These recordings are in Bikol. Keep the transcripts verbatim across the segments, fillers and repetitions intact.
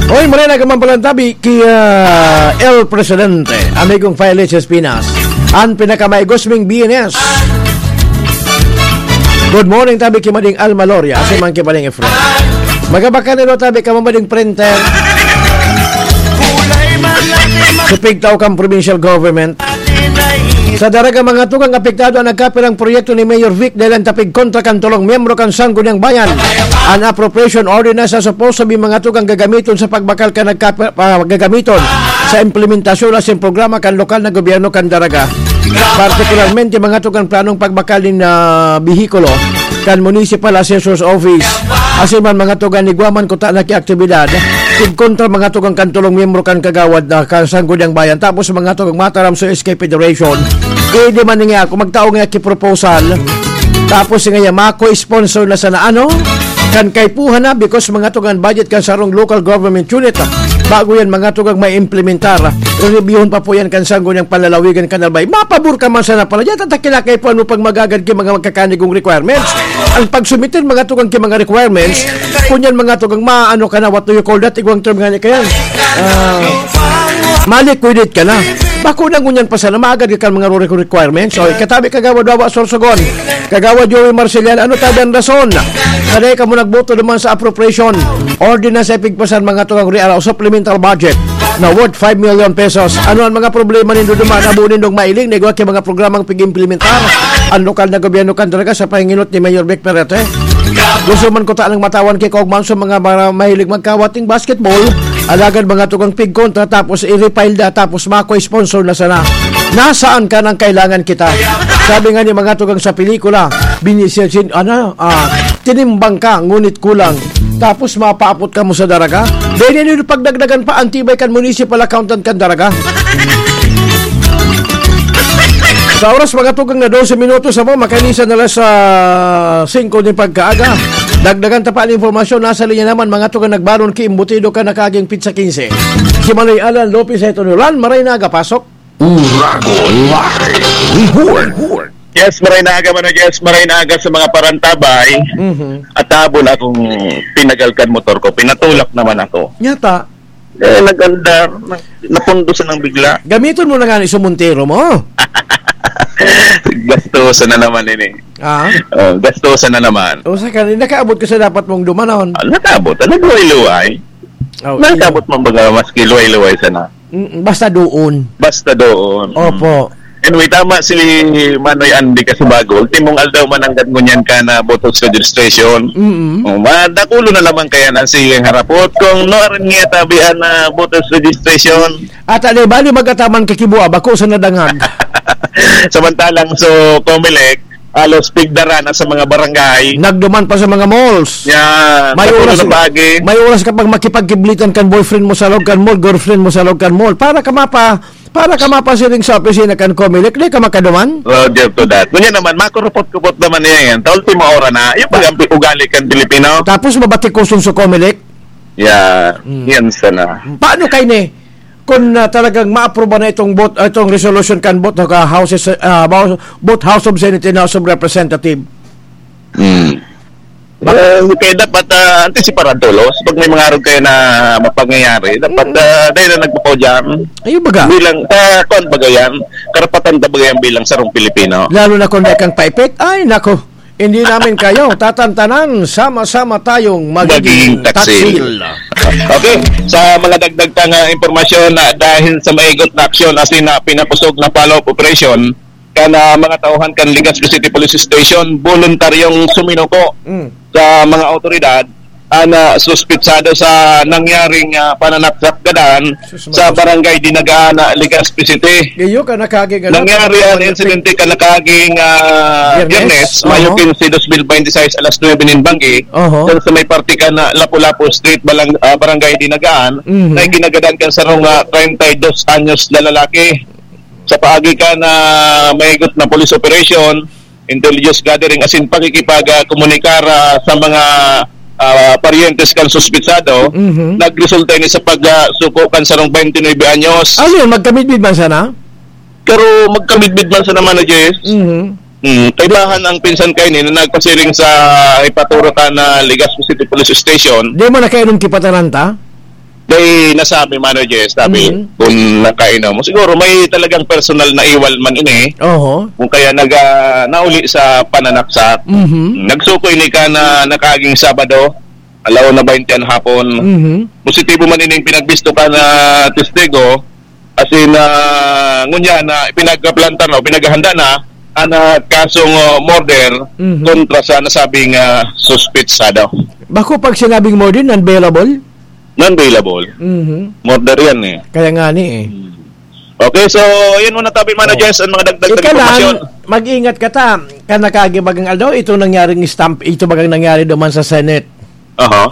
Oy, maray na ka man palantabi ki, ah, El Presidente, amigong Files Espinas, an pinakamaigos ming B N S. Good morning, tabi ki Mading Alma Loria, si man ki Mading Efren. Magabaka nilo, tabi ka Mading Printer. Sa pigtaw kang provincial government. Sa Daraga, mga tugang, apektado an nagkapirang proyekto ni Mayor Vic dahil an tapig kontra kan tolong miyembro kan Sangguniang Bayan. An appropriation ordinance na supposed to be, mga tugang, gagamiton sa pagbakal kan nagkapi-, ah, gagamiton sa implementasyon asin programa kan lokal na gobyerno kan Daraga. Partikularmente, mga tugang, planong pagbakal nin, ah, behikulo kan Municipal Assessor's Office. Asin man, mga tugang, igwa man kuta na ki aktibidad, tig kontra, mga tugang, kan tolong miyembro kan Kagawad na kan Sangguniang Bayan. Tapos, mga tugang, mataram sa S K Federation, eh, di man nga ako, magtao nga ki proposal. Tapos, nga yan, mako sponsor na sana, ano? Kan kaipuhan na, because, mga tugang, budget kan sarong local government unit, ah. Bago yan, mga tugang, may implementar, ah. Reviewon pa po yan kan Sangguniang Panlalawigan kan Albay. Mapabor ka man sana pala. Diyan, tatakila kaipuhan mo pag magagad ki mga magkakanigong requirements. Ang pagsumitin, mga tugang, ki mga requirements, kunyan, mga tugang, maano ka na, what do you call that? Igwang term nga ni kaya. Ah, ma-liquidate ka na. Bako na ngunyan pa sana, maagad ka kan mga re-, requirements. So, katabi, Kagawad Wawa Sorsogon, Kagawad Joey Marcelian, ano tabi an rason? Kanay ka mo nagboto naman sa appropriation ordinance ay pigpasan, mga tugang real o supplemental budget na worth five million pesos. Ano ang mga problema nindo duman? Abo nindong mailing na igwa ki mga programang pig-implementar ang lokal na gobyerno kan Daraga sa pahinginot ni Mayor Vic Perete? Gusto man ko tanang matawan ki Kog Manso, mga mara-, mahilig magkawat ning basketball, alagad mga tugang pig kontra, tapos i-refile na, tapos mako sponsor na sana. Nasaan ka nang kailangan kita? Sabi nga ni mga tugang sa pelikula, binisin, ano, ah, tinimbang ka, ngunit kulang. Tapos mapaapot ka mo sa Daraga? Dahil yun yung pagdagdagan pa, antibay kan municipal accountant kan Daraga. Sa oras, mga tugang na dose minutos, amo, makanisan na lang sa singko ni pagkaaga. Dagdagan ta pa ang impormasyon, nasa linya naman, mga tugang, nagbaron ki imbutido kan nakaging pizza quince. Si Manoy Alan Lopez, ito nulan, maray na agapasok. Uragon Live Report. Yes, maray na aga, Mano Jess, maray na aga sa mga parantabay. Mhm. At habol akong pinagal kan motor ko, pinatulak naman ako. Nyata? Eh, nag-andar, na-, napundusan ng bigla. Gamiton mo na nga ni sa Montero mo. Gastusan na naman ini. Ah? Oh, gastusan na naman. O, sa kanina, nakaabot ka sa dapat mong dumanon. Ah, nakaabot. Ah, nagluway-luway. Oh, Nakaabot man baga, maski luway-luway sana. Mm, basta doon. Basta doon. Opo. Anyway, tama si Manoy Andy kasi bago. Ultimong aldaw man ang ngunyan ka na voters registration. Mm-mm. Oh, madakulo na lamang kaya na ang sigang harapot. Kung no, aron nga tabihan na voters registration. At ano, bali magataman kakibua, bako sa nadangag. Samantalang so, Comelec, halos pigdara na sa mga barangay. Nagduman pa sa mga malls. Yan. May Sa oras, puno ng pagi. may oras ka pag makipagkiblitan kan boyfriend mo sa loob kan mall, girlfriend mo sa loob kan mall. Para ka mapa, para ka mapasiring sa opisina kan Comelec, di ka makaduman? Roger to that. Ngunyan naman, makurupot-kupot naman niya yan. Sa ultimo ora na, yung pag-ampi ugali kan Pilipino. Tapos mabatikuson sa Comelec? Yeah, Mm. yan sana. Paano kay ni? Kung, ah, talagang maaproba na itong bot-, ah, itong resolution kan both, ah, houses, ah, both House of Senate and House of Representative. Hmm. Ba- Eh, kaya dapat, ah, antisiparan tulos. Pag may mga arog kayo na mapangyayari, dapat, Mm. ah, dahil na nagpapaudyang Ayun baga. bilang, ah, kuwan baga yan, karapatan ta baga yan bilang sarong Pilipino. Lalo na kung may kang paipit, ay nako, hindi namin kayo tatantanan, sama-sama tayong magiging Magiging taksil. taksil. Okay, sa mga dagdag tang, ah, impormasyon na dahil sa maigot na aksyon asin na pinakusog na follow-up operation, kan, ah, mga tauhan kan Legazpi City Police Station, voluntaryong suminuko Mm. sa mga awtoridad ang, ah, suspitsado sa nangyaring, ah, pananaksak gadan Sus, sa Maria. Barangay Dinagaan, ah, Legazpi City. Iyo ka nakagig-, ano, Nangyari ang ano, insidente kan nakaging, ah, Biyernes? Biyernes, Mayo Oho. quince, dos mil bente y seis, alas nuebe nin banggi, Oho. dyan sa may parte kan, ah, Lapu-Lapu Street, Balang-, ah, Barangay Dinagaan, Mhm. na ikinagadan kan sarong, ah, treinta y dos anyos na lalaki. Sa paagi kan, ah, maigot na police operation, intelligence gathering, asin pakikipagkomunikar, ah, sa mga, ah, paryentes kan suspitsado, Mhm. nagresulta ini sa pag, ah, suko kan sarong twenty-nine anyos. Ano yun? Magkamidbid man sana? Pero magkamidbid man sana, Mano Jess. Mhm. Mm, kaibahan ang pinsan kaini na nagpasiring sa ipaturo ta na Legazpi City Police Station. Di mo nakainom ki pataranta? Kay nasabi, Mano Jess, sabi, Mhm. kung nakainom, siguro may talagang personal na iwal man ini. Oho. Kung kaya nag-, ah, nauli sa pananaksak, Mhm. nagsuko ini kan nakaging Sabado, alauna baynte an hapon. Mhm. Positibo man ining pinagbisto kan testigo, as in, ah, ngunyan na ipinagplantar na o pinaghahanda na an, ah, kasong, ah, murder Mhm. kontra sa nasabing, ah, suspetsado. Bako pag sinabing murder, non-bailable? Non-bailable. Mhm. Murder yan eh. Kaya nga ni eh. Hmm. Okay, so yun muna tabi, Mano Oh. Jess, ang mga dagdag na Ika lang, impormasyon. Mag-ingat ka ta. Kan nakagibagang aldaw, itong nangyaring stamp, ito bagang nangyari duman sa Senate. Aha.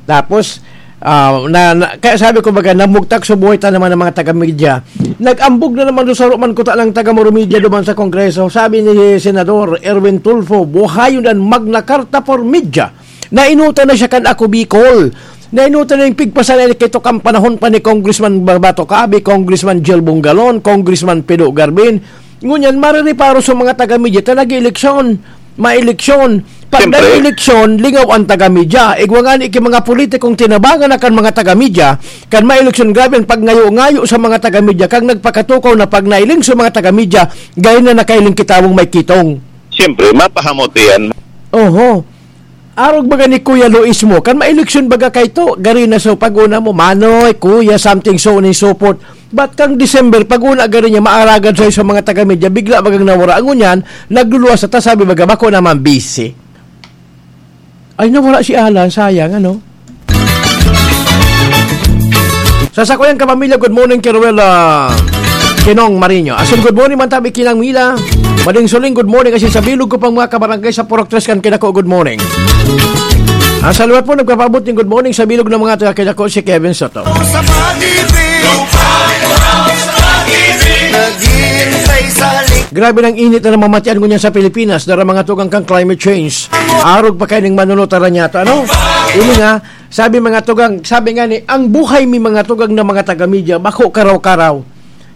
Tapos, ah, na, na, kaya sabi ko baga, namugtak sa buhay ta naman ng mga taga-media. Nag-ambog na naman doon sa Roman Kuta ng taga-Moro Media duman sa Kongreso. Sabi ni Senador Erwin Tulfo, buhayon ang Magna Carta for Media. Nainutan na siya kan Ako Bicol. Nainutan na yung pigpasanay na kito kan panahon pa ni Congressman Barbato Cabe, Congressman Jel Bongalon, Congressman Pido Garbin. Ngunyan, maririparo sa mga taga-media ta nag-eleksyon, maeleksyon. Pag Siyempre. nag-eleksyon, lingaw ang taga-media. Igwa nga ni ki mga politikong tinabangan na kan mga taga-media, kan maeleksyon, grabe ang pagngayo-ngayo sa mga taga-media, kang nagpakatukaw na pag nailing sa mga taga-media, gayon na nakailing kitawong may kitong. Siyempre, mapahamot yan. Oho. Arog baga ni Kuya Luis mo, kan maeleksyon baga kay to, gari na so pag-una mo, Manoy, Kuya, something so on and so forth. But kang December, pag-una gari niya, maaragad sa'yo sa mga taga-media, bigla bagang nawara. Ang ngunyan, nagluluwas sa ta, sabi baga, bako naman busy. Ay, nawara si Alan, sayang, ano? Sa sakuyang kapamilya, good morning kay Ruel, ah, Kinong Marino. Asin, good morning man tabi, Kinang Mila. Mading Suling, good morning. Asin sa bilog ko pang mga kabarangay sa Purok Tres kan Kinako, good morning. Ang sa liwat po, nagpapaabot ng good morning sa bilog ng mga taga Kinako, si Kevin Soto. Sa pag-ibig, naghihintay sa lik- Grabe ng init na namamatian ngunyan sa Pilipinas, dara mga tugang kang climate change. Arog pa kayo ng manunod, tara niya to, ano? Ini nga, sabi mga tugang, sabi nga ni, ang buhay mi mga tugang na mga taga-media, bako karaw-karaw.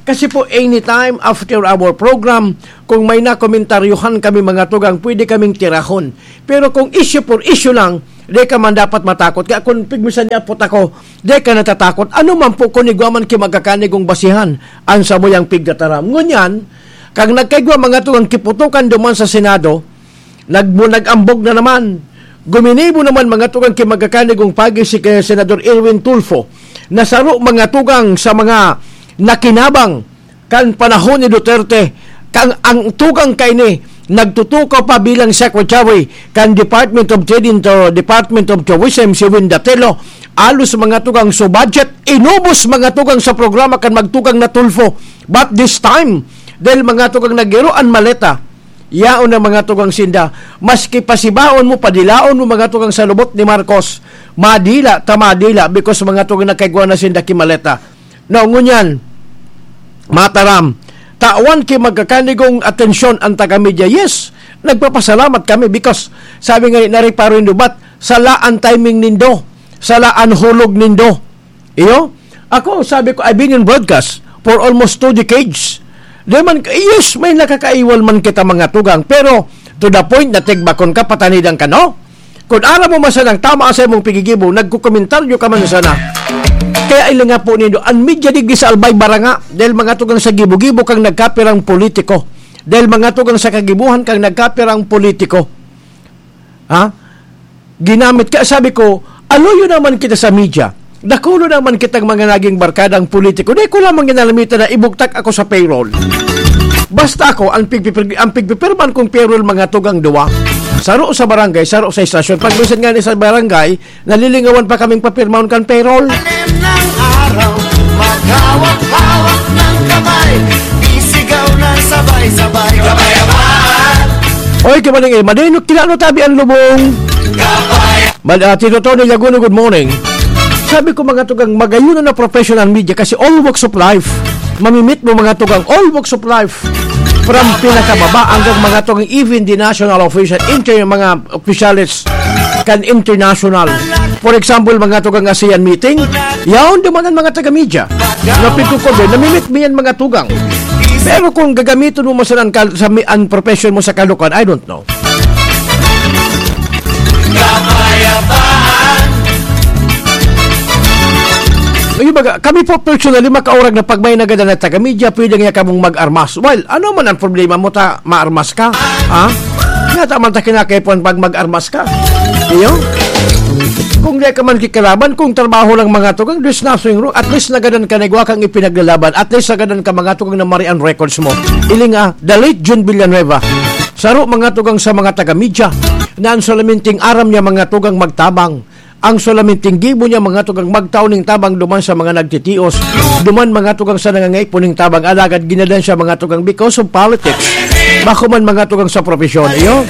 Kasi po, anytime after our program, kung may nakomentaryuhan kami mga tugang, pwede kaming tirahon. Pero kung issue for issue lang, di ka man dapat matakot. Kaya kung pigmisan niya po ako, di ka natatakot. Ano man po kung igwa man ki magkakanigong basihan, ang samuyang pigtataram. Ngunyan, kag nagkaigwa mga tugang kiputukan duman sa Senado, Nag-, nag-ambog na naman. Guminibo naman mga tugang ki magkakanigong pagi si, eh, Senador Erwin Tulfo na saro mga tugang sa mga nakinabang kan panahon ni Duterte, kang ang tugang kaini nagtutukaw pa bilang secretary kan Department of Trade into Department of Tourism, si Win Datelo. Alos mga tugang so budget, inubos mga tugang sa programa kan magtugang na Tulfo. But this time, dahil mga tugang nagiro an maleta, Yaon na mga tugang sinda, maski pasibaon mo, padilaon mo mga tugang sa lubot ni Marcos, madila ta madila, because mga tugang nagkaigwa na sinda ki maleta. Now, ngunyan, mataram, tawan ki magkakanigong atensyon ang taga-media. Yes, nagpapasalamat kami because sabi nga ni, nariparo nindo, but sala an timing nindo, sala an hulog nindo. Iyo? Ako, sabi ko, I've been in broadcast for almost two decades. Di man, yes, may nakakaiwal man kita mga tugang, pero to the point na tigbakon ka, patanidan ka, no? Kung aram mo man sanang tama sa imong pigigibo, nagkukomentaryo ka man sana. Kaya ilinga po nindo, ang media digdi sa Albay Baranga, dahil mga tugang sa gibo-gibo kang nagkapirang politiko. Dahil mga tugang sa kagibuhan kang nagkapirang politiko. Ha? Ginamit ka, sabi ko, aluyo naman kita sa media. Dakulo naman kitang mga naging barkadang politiko. Di ko lamang ginalamitan na ibugtak ako sa payroll. Basta ako, ang pigpipir-, ang pigpipirman kong payroll, mga tugang duwa. Saro sa barangay, saro sa estasyon. Pag minsan nga ni sa barangay, nalilingawan pa kaming papirmahon kan payroll. Talim ng araw, maghawak-hawak ng kamay, isigaw ng sabay-sabay, kabayabaan. Oy, kabaning eh, madeno, kilano tabi ang lubong. Kabay- Mad-, ah, Tito Tony Laguno, good morning. Sabi ko, mga tugang, magayon na professional media kasi all walks of life. Mamimit mo, mga tugang, all walks of life. From pinakababa hanggang mga tugang, even the national official, inter-, mga opisyales kan international. For example, mga tugang ASEAN meeting, yaon duman ang mga taga-media. Napigkukod din, namimit mo yan, mga tugang. Pero kung gagamitin mo man sana ang kal-, sa mi-, ang profession mo sa kalokohan, I don't know. Kapayapaan. Yung baga, kami po personally, makaurag na pag may nagadan na taga-media, pwede nga kamong mag-armas. Well, ano man ang problema mo ta, maarmas ka? Ha? Yata man ta kinakaipuhan pag mag-armas ka. Iyo? Kung di ka man kikalaban, kung trabaho lang mga tugang, there's nothing wrong. At least nagadan ka na igwa kang ipinaglalaban. At least nagadan ka mga tugang na mari ang records mo. Iling ah, the late Jun Villanueva. Saro mga tugang sa mga taga-media na ang solamente aram niya mga tugang magtabang. Ang solamente gibo niya mga tugang magtao ning tabang duman sa mga nagtitios, duman mga tugang sa nangangaipo ning tabang, alagad ginadan siya mga tugang because of politics. Bako man mga tugang sa profesyon, iyo?